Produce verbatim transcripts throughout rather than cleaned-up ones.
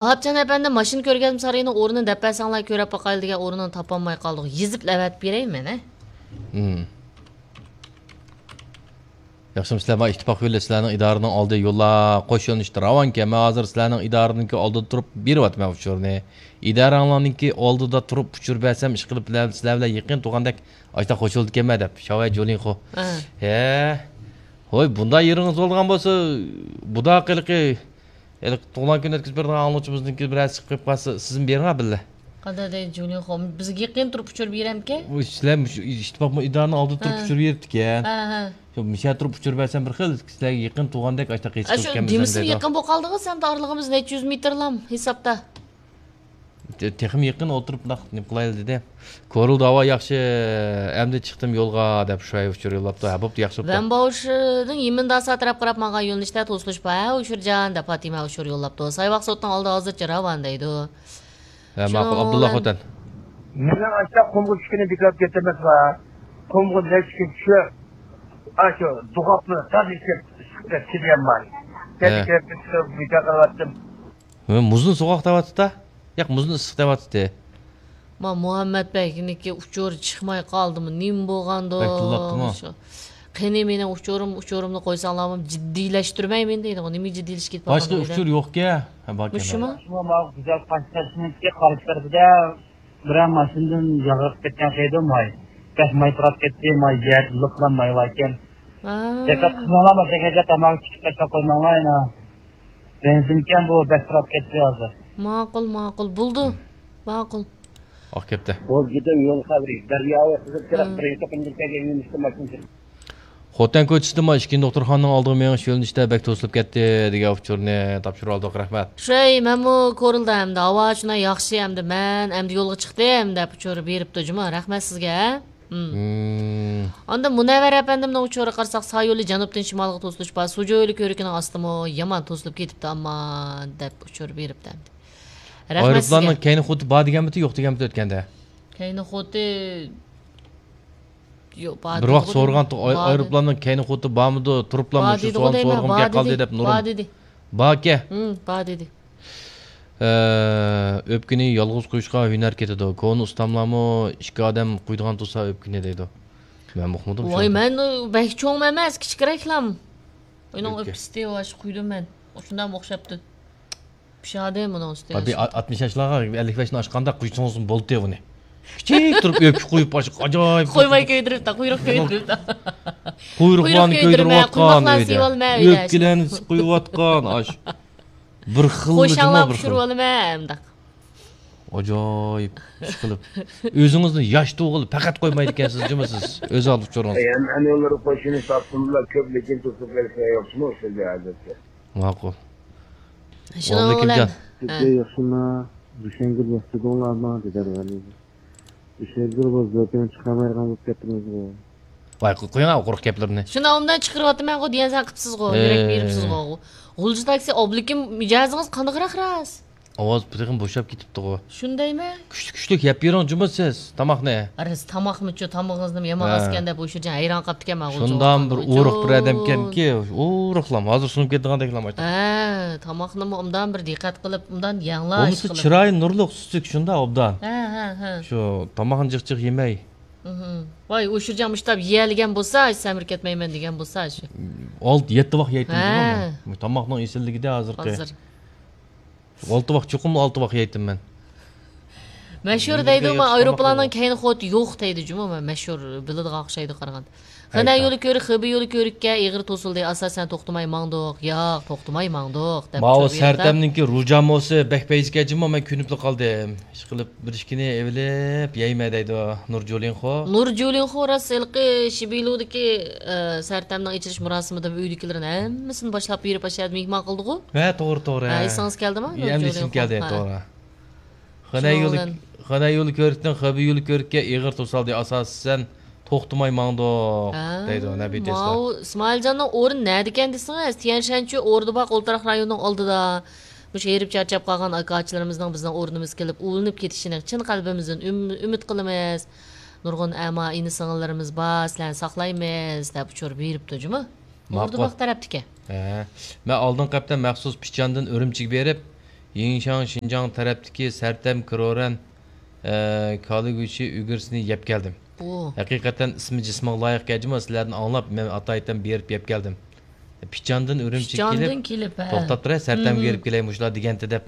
ۋاھاپجان ئەپەندى، ماشىنا كۆرگەزمە سارىيىنىڭ ئورنىنى دەپ بەرسەڭلار، كۆرەپ باقايلى دېگەن ئورنىنى تاپالماي قالدۇق. يېزىپ ئەۋەتىپ بېرەيمەن، ھە؟ ھىم. ياخشىمۇ سىلەر؟ مانا ئىتتىپاق يولى سىلەرنىڭ ئىدارىنىڭ ئالدى يوللار قوش يۆنىلىشتە راۋانكەن. مەن ھازىر سىلەرنىڭ ئىدارىنىڭكى ئالدىدا تۇرۇپ بېرىۋاتىمەن ئۇچۇرنى. ئىدارەڭلارنىڭكى ئالدىدا تۇرۇپ ئۇچۇر بەرسەم، ئىشقىلىپ بىلەن سىلەر بىلەن يېقىن تۇرغاندەك ئاشتا قوشۇلىدىكەنمەن دەپ. شاۋەي جۇلىڭخۇ. ھە. ھە. ھوي، بۇنداق يېرىڭىز بولىدىغان بولسا، بۇدا قىلىقى ھېلىقى تۇغۇلغان كۈن ئۆتكۈزۈپ بېرىدىغان ئاڭلىغۇچىمىزنىڭكى بىرەرسى چىقىپ قالسا، سىزمۇ بېرىڭە بىللە. قانداق دەيدۇ جۇلىڭخۇ؟ بىزگە يېقىن تۇرۇپ ئۇچۇر بېرەمكەن؟ ئۇ سىلەر مۇشۇ ئىتتىپاق ئىدارىنىڭ ئالدىدا تۇرۇپ ھە. ئۇچۇر بېرىپتىكەن. ھە، ھە. شۇ مىشە تۇرۇپ ئۇچۇر بەرسەم بىر خىل سىلەرگە يېقىن تۇرغاندەك ئاشتا قېچىپ ئاشۇ كېلىمىز دېمىسىمۇ دەيدۇ. يېقىن بولۇپ قالدىغۇ، سەن ئارىلىقىمىز نەچچە يۈز مېتىرلام ھېسابتا. تېخىمۇ يېقىن ئولتۇرۇپ بۇنداق نېمە قىلايلى دېدى. كورلىدى ھاۋا ياخشى، ئەمدى چىقتىم يولغا دەپ شۇراي ئۇچۇر يوللاپتۇ. ھە، بوپتۇ، ياخشى بوپتۇ. ۋەنباۋشىدىن يىمىنداسا تەرەپ قاراپ ماڭغان يۆنىلىشتە توسۇلۇش بار، ھە، ئۇچۇرجان دەپ پاتىمە ئۇچۇر يوللاپتۇ. سايۋاق سوتنىڭ ئالدى ھازىرچە راۋان دەيدۇ. ھە، ماقۇل، شۇنىڭ ئابدۇللا بىلەن خوتەن. مېنىڭ ئاشتا قۇمغا چۈشكىنى بىكار كېتىمىز ۋە قۇمغا نەچچە كۈن چۈشۈپ، ئاشۇ دۇغاپنى تازا ئىچىپ، ئىسسىق دەپ كېلىمەن. ھە. كەچ كىرىپ چىقىپ بىكار قىلىۋەتتىم. ھە، مۇزنى سوغۇق دەۋاتىدۇ-دە. ياق، مۇزنى ئىسسىق دەۋاتىدۇ. ما مۇھەممەت بەگنىڭكى ئۇچۇرى چىقماي قالدىمۇ، نېمە بولغاندۇ؟ بەك تىللاپتىمۇ؟ شۇ. قېنى مېنىڭ ئۇچۇرۇم، ئۇچۇرۇمنى قويساڭلارمۇ جىددىيلەشتۈرمەيمەن دەيدىغۇ. نېمە جىددىيلىشىپ كېتىپ باشقا قالغان ئۇچۇر يوقكەن. ھە، باركەن. مۇشۇمۇ؟ ماۋۇ گۈزەل قاشتېپىنىڭكى قارشى تەرىپىدە بىرەر ماشىنىدىن ياغىرىپ كەتكەن خېيدۇ ماي. بەك ماي پۇراپ كەتتى، ماي يەر لىقلا ماي باركەن. ھە. دىققەت قىلماڭلار، ماشىنىگە تاماكا چېكىپ تاشلاپ قويماڭلار يەنە. بېنزىنكەن بۇ، بەك پۇراپ كەتتى ھازىر. ماقۇل، ماقۇل. بولدى. ماقۇل. ئاق كەپتە. بولدى، يول خەۋىرى. دەريا ئوتىدا كىرىپ، بىرىنچى توقۇمدىن كەلگەن يۆنىلىشتە ماشىنا. خوتەن كوچىسىدىمۇ ئىككىنچى دوختۇرخانىنىڭ ئالدىغا مېڭىش يۆنىلىشىدە بەك توسۇلۇپ كەتتى دېگەن ئۇچۇرنى تاپشۇرۇۋالدۇق. رەھمەت. شۇي، مەنمۇ كورلىدىم ئەمدى. ھاۋا شۇنداق ياخشى ئەمدى. مەن ئەمدى يولغا چىقتىم دەپ ئۇچۇر بېرىپتۇ جۇمۇ. رەھمەت سىزگە. ھە؟ ھىم. ئاندىن مۇنەۋۋەر ئەپەندىمنىڭ ئۇچۇرىغا قارىساق، سايولى جەنۇبتىن شىمالغا توسۇلۇش بار. سۇجۇ يولى كۆۋرۈكىنىڭ ئاستىمۇ يامان توسۇلۇپ كېتىپتۇ ئەمما دەپ ئۇچۇر بېرىپتۇ ئەمدى. رەھمەت سىزگە. ئايروپىلاننىڭ كەينى خۇدى بار دېگەنمىتى، يوق دېگەنمىتى ئۆتكەندە؟ كەينى خۇدى يوق، بار بىر ۋاقىت دېدىغۇ سورىغانتۇق، دەيمەن. ئاي-، بار دېدى. ئايروپىلاننىڭ كەينى خۇدى بارمىدۇ، تۇرۇپلامۇ بار شۇ دېدىغۇ سوئالنى دەيمەن، سورىغۇم بار كەپ قالدى دېدى. دەپ نۇرۇم. بار دېدى. باركەن. ھىم، بار دېدى. ئە، ئۆپكىنى يالغۇز قۇيۇشقا ھۈنەر كېتىدۇ. كونا ئۇستاملارمۇ ئىككى ئادەم قۇيىدىغان تۇرسا ئۆپكىنى دەيدۇ. مەن ئۇقمىدىم. ۋاي، شۇنى. مەن بەك چوڭ ئەمەس، كىچىكرەكلام. ئۇنىڭ ئۆپكە. ئۆپكىسى ۋاش قۇيدۇم مەن. شۇنداقمۇ ئوخشاپتۇ. پىشادى مۇنىڭ ئۈستىگە. بىر ئاتمىش ياشلارغا ئەللىك بەشنى ئاشقاندا قۇيسىڭىزمۇ بولدى بۇنى. كىچىك تۇرۇپ ئۆپكە قويۇپ، ئاجايىپ. قويماي كۆيدۈرۈپتا، قۇيرۇق كۆيدۈرۈپتا. قۇيرۇقلارنى كۆيدۈرۈۋاتقان ئۆيدە. ئۆپكىلەرنى قويۇۋاتقان ئاش. بىر خىل جۇمۇ، بىر خىل. ئاجايىپ ئىش قىلىپ. ئۆزىڭىزنى ياش تۇغۇل پەقەت قويمايدىكەنسىز جۇمۇ سىز. ئۆز ئالدى ئۇچۇرىڭىز. ئەي، ھەم ئەنىۋالار قوشۇنى تاپسىمۇلا كۆپ، لېكىن توسۇپ بەرسە ياخشىمۇ ئۇ سۆزى ھازىرچە. ماقۇل. شۇنىڭ بىلەن. سىزگە ياخشىمۇ؟ دۈشەنگۈل ياخشى دەڭلارمۇ؟ دېدى ھەرۋەلى. دۈشەنگۈل بۇ زۆپىڭ چىقارمايدىغان بولۇپ كەتتىڭىزغۇ. ۋاي، قويۇڭ قۇرۇق گەپلىرىنى. شۇنى ئوبدان چىقىرىۋاتىمەنغۇ دېگەن سەن قىپسىزغۇ، يۈرەك بېرىپسىزغۇ. غۇلجا تاكسى، ئابلىكىم مىجەزىڭىز قانداقراق راست؟ ئاۋاز تېخىمۇ بوشاپ كېتىپتىغۇ. شۇندايمۇ؟ كۈچلۈك، كۈچلۈك يەپ بېرىڭ جۇمۇ سىز تاماقنى. راست تاماقمىچۇ، تامىقىڭىزنىمۇ يامان ئازكەن دەپ ئۇ شۇرجان ھەيران قاپتىكەن مانا غۇلجا. شۇنداق بىر ئورۇق بىر ئادەمكەنكى، ئورۇقلام ھازىر سۇنۇپ كېتىدىغاندەكلام. ھە، تاماقنىمۇ ئوبدان بىر دىققەت قىلىپ، ئوبدان يەڭلار. بولمىسا چىرايى نۇرلۇق، سۈزۈك شۇنداق ئوبدان. ھە، ھە، ھە. شۇ تاماقنى جىق جىق يېمەي. ۋاي، ئۇ شۇرجان مۇشتاپ يېيەلىگەن بولسا، سەمرىپ كەتمەيمەن دېگەن بولسا شۇ. ئالتە، يەتتە ۋاق يەيتتىم جۇمۇ. تاماقنىڭ ئېسىللىكىدە ھازىرقى. ھازىر. ئالتە ۋاق، چوقۇم ئالتە ۋاق يەيتتىم مەن. مەشھۇر دەيدۇ، مەن ئايروپىلاننىڭ كەينى خۇدى يوق دەيدۇ جۇمۇ، مەشھۇر بىلىدىغان ئوخشايدۇ قارىغاندا. خېنەن يولى كۆرۈك، خېبېي يولى كۆرۈككە ئېغىر توسۇلدى، ئاساسەن توختىماي ماڭدۇق. ياق، توختىماي ماڭدۇق دەپ. ماۋۇ سەرتەمنىڭكى رۇجاموسى بەك پەيزىكەن جۇمۇ، مەن كۆنۈپلا قالدىم. ئىشقىلىپ بىر ئىككىنى ئېۋىلىپ يەيمەن دەيدۇ نۇر جۇلىنخو. نۇر جۇلىنخو راست ھېلىقى شىبىلۇدىكى، ئە، سەرتەمنىڭ ئېچىلىش مۇراسىمىدا ئۆيدىكىلەرنى ھەممىسىنى باشلاپ بېرىپ ئاشۇ يەردە مېھمان قىلدىغۇ. ھە، توغرا، توغرا. ھە، ئېسىڭىز كەلدىما؟ نۇر جۇلىنخو. ئەمدى ئېسىمگە كەلدى، توغرا. خېنەن يولى، خېنەن يولى كۆرۈكتىن خېبېي يولى كۆرۈككە ئېغىر توسالدى، ئاساسەن توختىماي ماڭدۇق دەيدۇ نەبى تېسلا. ماۋۇ ئىسمائىلجاننىڭ ئورنى نەدىكەن دېسىڭىز، تيەنشەنچۈ ئوردا باغ ئولتۇراق رايونىنىڭ ئالدىدا. مۇشۇ ھېرىپ چارچاپ قالغان ئاكا-ئاچىلىرىمىزنىڭ بىزنىڭ ئورنىمىزغا كېلىپ ئۇلىنىپ كېتىشىنى چىن قەلبىمىزدىن ئۈم-، ئۈمىد قىلىمىز. نۇرغۇن ئەما ئىنى-سىڭىللىرىمىز بار، سىلەرنى ساقلايمىز، دەپ ئۇچۇر بېرىپتۇ جۇمۇ. ماقۇل. ئوردا باغ تەرەپتىكەن. ھە. مەن ئالدىنقى ھەپتە مەخسۇس پىچاندىن ئۈرۈمچىگە بېرىپ، يىڭشاڭ شىنجاڭ تەرەپتىكى سەرتەم كرورەن، ئە، كالىگۈچى ئۈگرىسىنى يەپ كەلدىم. ئۇ. ھەقىقەتەن ئىسمى جىسمىغا لايىق ئەجىمۇ، سىلەردىن ئاڭلاپ، مەن ئاتايىتەن بېرىپ يەپ كەلدىم. پىچاندىن ئۈرۈمچىگە پىچاندىن كېلىپ، كېلىپ، ھە. توختاپ تۇراي، سەرتەمگە مم. بېرىپ كېلەي، مۇشۇلار دېگەنتى دەپ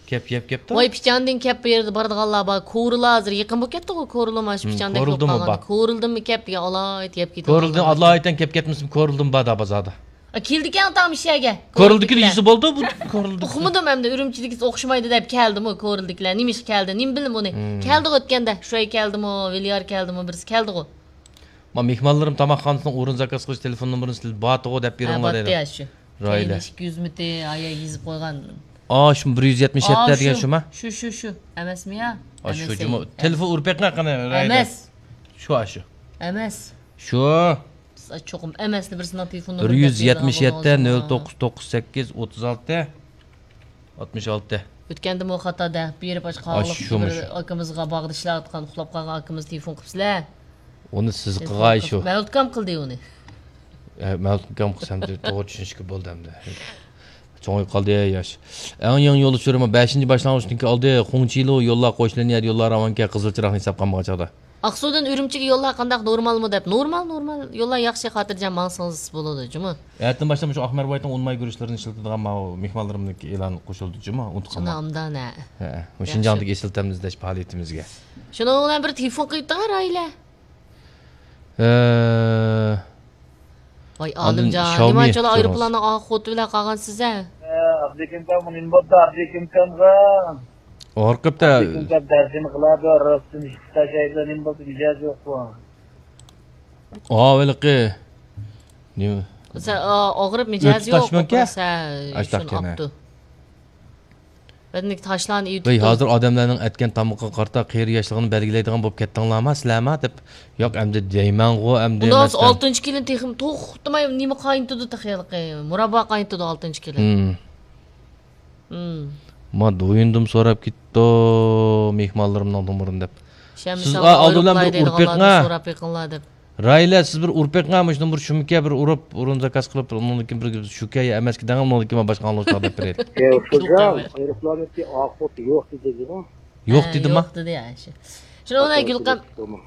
كەپ يەپ كەپتۇ. ۋاي، پىچاندىن كەپ بۇ يەردە بارىدىغانلار بار. كورلا ھازىر يېقىن بولۇپ كەتتىغۇ، كورلا مانا شۇ مم، پىچاندەك بولۇپ كورلىدىنمۇ قالغان. بار. كورلىدىنمۇ كەپ، يا ئالايىت يەپ كېتىدىغانلار كورلىدىن بار. ئالايىتەن كەپ كەتمىسىمۇ، كورلىدىن بار دا بازاردا. ئا، كېلىدىكەن ئاتام ئىش يەرگە. كورلىدىكىنى كورلىدىكىلەر. يېسە بولدى، بۇ كورلىدىكى. ئۇقمىدىم ئەمدى، ئۈرۈمچىدىكىسى ئوخشىمايدۇ دەپ كەلدىمۇ كورلىدىكىلەر. نېمە ئىشقا كەلدى، نېمە بىلىم ئۇنى؟ مم. كەلدىغۇ ئۆتكەندە، شۇ ئەي كەلدىمۇ، ۋىليار كەلدىمۇ، بىرسى كەلدىغۇ. ما مېھمانلىرىم تاماقخانىسىنىڭ ئورۇن زاكاز قىلىش تېلېفون نومۇرىنى سىلەر باتىغۇ دەپ ھە، بېرىڭلار باتتى دەيدۇ. يا شۇ. رايلە. كېيىن ئىككى يۈز مىتى، ئايا يېزىپ قويغان. ئا، شۇ بىر يۈز يەتمىش يەتتە ئا، دېگەن شۇ. شۇما؟ شۇ، شۇ، شۇ. ئەمەسمۇ يا؟ ئا، شۇ ئەمەس، جۇمۇ. ئەمەس. تېلېفون ئۇرۇپ بېقىڭ قېنى، رايلە. ئەمەس. شۇ، ئا، شۇ. ئەمەس. شۇ. بىز چوقۇم ئەمەسنى بىرسىنىڭ تېلېفون بىر نومۇرىنى يۈز يەتمىش يەتتە، دەپ نۆل توققۇز توققۇز سەككىز، ئوتتۇز ئالتە، ئاتمىش ئالتە. ئۆتكەندىمۇ خاتا دەپ بېرىپ، ئاشۇ ئاشۇ قاغىلىق شۇمۇ بىر شۇ. ئاكىمىزغا باغدا ئىشلەۋاتقان، ئۇخلاپ قالغان ئاكىمىز تېلېفون قىپسىلە. ئۇنى سىز قىلغاي شۇ. مەۋلۇتكام قىلدى ئۇنى. ئە، مەۋلۇتكام قىلسام، توغرا چۈشىنىشكە بولدى ئەمدى. چوڭىيىپ قالدى ياش. ئەڭ يېڭى يول ئۇچۇرىمۇ بەشىنچى باشلانغۇچتىن كېيىن ئالدى. خۇڭچىلۇ يوللار قوشۇلۇن يەر يوللار راۋانكە قىزىل چىراغنى ھېساب قالمىغان چاغدا. ئاقسۇدىن ئۈرۈمچىگە يوللار قانداق، نورمالمۇ دەپ. نورمال، نورمال. يوللار ياخشى، خاتىرجەم ماڭسىڭىز بولىدۇ، جۇمۇ. ئەتىدىن باشلاپ مۇشۇ ئاقمەر ۋايتنىڭ ئۇن ماي گۈرۈچلىرىنى ئىشلىتىدىغان ماۋۇ مېھمانلىرىمنىڭكى ئېلان قوشۇلدى، جۇمۇ. ئۇنتۇپ قالماڭ. ئۇنامدان، ھە. ھە، مۇشۇ ياخشى. شىنجاڭدىكى ئېسىل تەمىزلەش پائالىيىتىمىزگە. شۇنىڭ بىلەن بىر تېلېفون قىلىپ تۇرغان رايلە. ھە. ۋاي، ئاندىن ئالىمجان، ژاۋمى نېمانچىلا سورىسىڭىز. ئايروپىلاننىڭ ئاخۇتى بىلەن قالغانسىز، ھە؟ ئابدۇكىم كام، نېمە بولدى ئابدۇكىم كامغا؟ ھارقىپتا. ئابدۇكىم كام تەرجىمە قىلادۇ، رۇستۇم خىتاي شاھىدلار نېمە بولدى، مىجەزى يوققۇ؟ ئا، ھېلىقى. نېمە؟ سە-، ئا، ئاغرىپ مىجەزى يوق، تاشمىكە؟ ئوقۇرسا، ئاشتاق شۇنى كەنە. ئاپتۇ. بەدىنىدىكى تاشلارنى ئېۋىتىپتۇ. ۋەي، ھازىر ئادەملەرنىڭ ئەتكەن تامىقىغا قارىتا قېرى ياشلىقىنى بەلگىلەيدىغان بولۇپ كەتتىڭلارما سىلەرما دەپ. ياق، ئەمدى دەيمەنغۇ، ئەمدى ئۇنداق بولسا مەسىلەن. ئالتىنچى كېلىن تېخىمۇ توختىماي نېمە قاينىتىدۇ تېخى ھېلىقى، مۇراببا قاينىتىدۇ ئالتىنچى كېلىن. مم. مم. ما دويۇندۇم سوراپ كېتىپتۇ، مېھمانلىرىمنىڭ نومۇرىنى دەپ. سىز، ئىشەنمىسەڭلار، ئا، ئالدى بىلەن ئايروپىلاي بىر ئۇرۇپ دەيدىغانلاردىن بېقىڭا. سوراپ بېقىڭلار دەپ. رايلە، سىز بىر ئۇرۇپ بېقىڭا، مۇشۇنىڭ بىر شۇمىكە بىر ئۇرۇپ، ئۇرۇن زاكاز قىلىپ، ئۇنىڭدىن كېيىن بىر شۇكە يا ئەمەسكە دەڭ، ئۇنىڭدىن كېيىن مەن باشقا ئاڭلىغۇچىغا دەپ بېرەي. ئە، ئۇكىجان، ئايروپىلاننىڭكى ئاخۇتى يوق دېدىغۇ. يوق ھە، دېدىما؟ يوق دېدى، ھە، شۇ. شۇنىڭ بىلەن ئاخۇتى گۈلقەم-، يوق دېدىمۇ.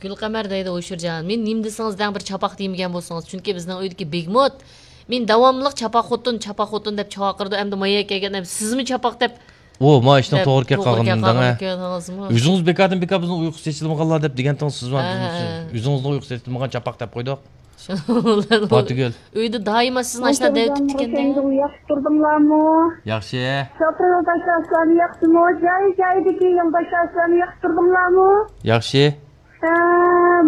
گۈلقەمەر دەيدۇ، ھوشۇرجان، مېنى نېمە دېسىڭىز دەڭ، بىر چاپاق دېمىگەن بولسىڭىز، چۈنكى بىزنىڭ ئۆيدىكى بېگموت مېنى داۋاملىق چاپاق خوتۇن، چاپاق خوتۇن دەپ چاقىرىدۇ، ئەمدى مايا كەلگەن، ئەمدى سىزمۇ چاپاق دەپ ئۇ، ما ئىشنىڭ دەپ توغرا كەپ توغرا قالغىنىنى كەپ دەڭە. قالغىنىنى كۆردىڭىزمۇ؟ ئۆزىڭىز بىكاردىن بىكار بىزنىڭ ئۇيقۇ چېچىلمىغانلار دەپ دېگەنتىڭىز سىز ھە، ھە. ئۆزىڭىزنىڭ ئۇيقۇ چېچىلمىغان چاپاق دەپ قويدۇق. شۇنىڭ بىلەن ئۇ ئاتىگۈل. ئۆيدە دائىما سىز ناشتا دەۋېتىپتىكەن-دە. ياخشى تۇردۇڭلارمۇ؟ ياخشى. شوپۇر يولداشلار سىلەرنى ياخشىمۇ؟ جاي-جايدىكى يولداشلار سىلەرنى ياخشى تۇردۇڭلارمۇ؟ ياخشى. ھە،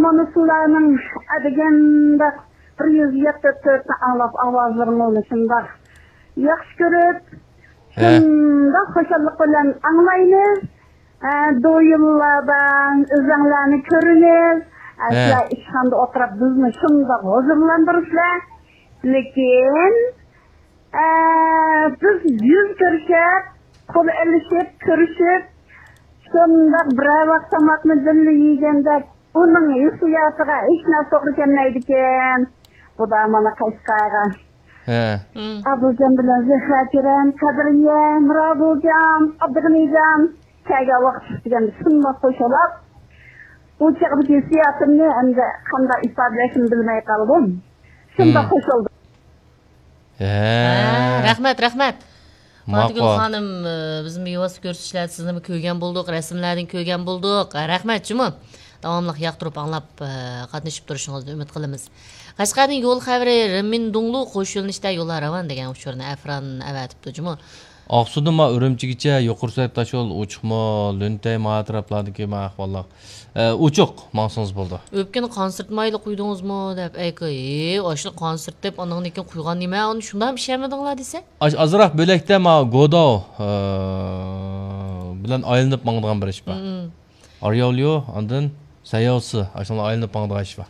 مانا سىلەرنىڭ ئەدىگەندە بىر يۈز يەتتە تۆتنى ئاڭلاپ، ئاۋازلىرىڭلارنى شۇنداق ياخشى كۆرۈپ، ھە. شۇنداق خۇشاللىق بىلەن ئاڭلايمىز. ھە، دويۇملاردا ئۆزۈڭلارنى كۆرىمىز. ھە، ھە. سىلەر ئىشخانىدا ئولتۇرۇپ بىزنى شۇنداق ھۇزۇرلاندۇرىسىلەر. لېكىن، ئە، بىز يۈز كۆرۈشۈپ، قول ئېلىشىپ، كۆرۈشۈپ، شۇنداق بىرەر ۋاق تاماقنى بىللە يېگەندەك، ئۇنىڭ ھېسسىياتىغا ھېچ نەرسە توغرا كەلمەيدىكەن. بۇدا مانا قەشقەرگە. ھە. ئابۇجان بىلەن زەھرەجان، قەدرىيە، مىرابۇجان، ئابدۇغېنىجان كەلگەن ۋاقىت دېگەندە شۇنداق خۇشاللىق. ئۇ چاغدىكى ھېسسىياتىمنى ئەمدى قانداق ئىپادىلەشنى بىلمەي قالدىم. شۇنداق خۇشاللىق. ھە. ھە، رەھمەت، رەھمەت. ماقۇل. پاتىگۈل خانىم، ئى، بىزمۇ بىۋاسىتە كۆرسىتىشلەردە سىزنىمۇ كۆرگەن بولدۇق، رەسىملەردىن كۆرگەن بولدۇق. ھە، رەھمەت جۇمۇ. داۋاملىق ياقتۇرۇپ ئاڭلاپ، ئى، قاتنىشىپ تۇرۇشىڭىزنى ئۈمىد قىلىمىز. قەشقەردىن يول خەۋىرى، رىمىندۇڭلۇ قوش يۆنىلىشتە يوللار راۋان دېگەن ئۇچۇرنى ئەفران ئەۋەتىپتۇ جۇمۇ. ئاقسۇدىن ما ئۈرۈمچىگىچە يۇقىرى سۈرئەت تاشيول ئوچۇقمۇ، لۈنتەي ما ئەتراپلاردىكى ما ئەھۋاللار؟ ئە، ئوچۇق، ماڭسىڭىز بولىدۇ. ئۆپكىنى قانسىرت مايلى قۇيدىڭىزمۇ دەپ، ئەي، ئاشۇنى قانسىرت دەپ، ئاندىن كېيىن قۇيغان نېمە، ئۇنى شۇنداقمۇ ئىشەنمىدىڭلار دېسە؟ ئاش-، ئازراق بۆلەكتە ما گوداۋ، ئە، بىلەن ئايلىنىپ ماڭىدىغان بىر ئىش بار. مم. ئارياۋليۇ، ئاندىن سەيياۋسى، ئاشۇنىڭ ئايلىنىپ ماڭىدىغان ئىش بار.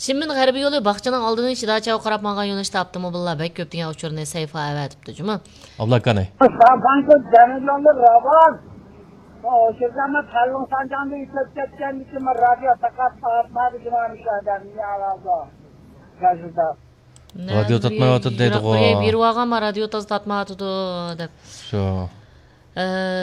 شىنمىن غەربىي يولى باغچىنىڭ ئالدىدىن شىداچاۋغا قاراپ ماڭغان يۆنىلىشتە ئاپتوموبىللار بەك كۆپ دېگەن ئۇچۇرنى سەيفا ئەۋەتىپتۇ جۇمۇ. ئابلاكانى. ساپانكو جەنۇبلاردا راۋان. ئۇ شىرزەمەت خەلقىڭ سانجاڭدا ئېتىلىپ كەتكەندىكىن مەن رادىيو تاقاپ تارتمادى جۇمۇ مۇشۇ ئادەم. نېمە ئالالدۇ؟ گازېتا. رادىيو تارتمايۋاتىدۇ دەيدىغۇ. بېرىۋالغانما رادىيو تازا تارتمايۋاتىدۇ دەپ. شۇ. ئە،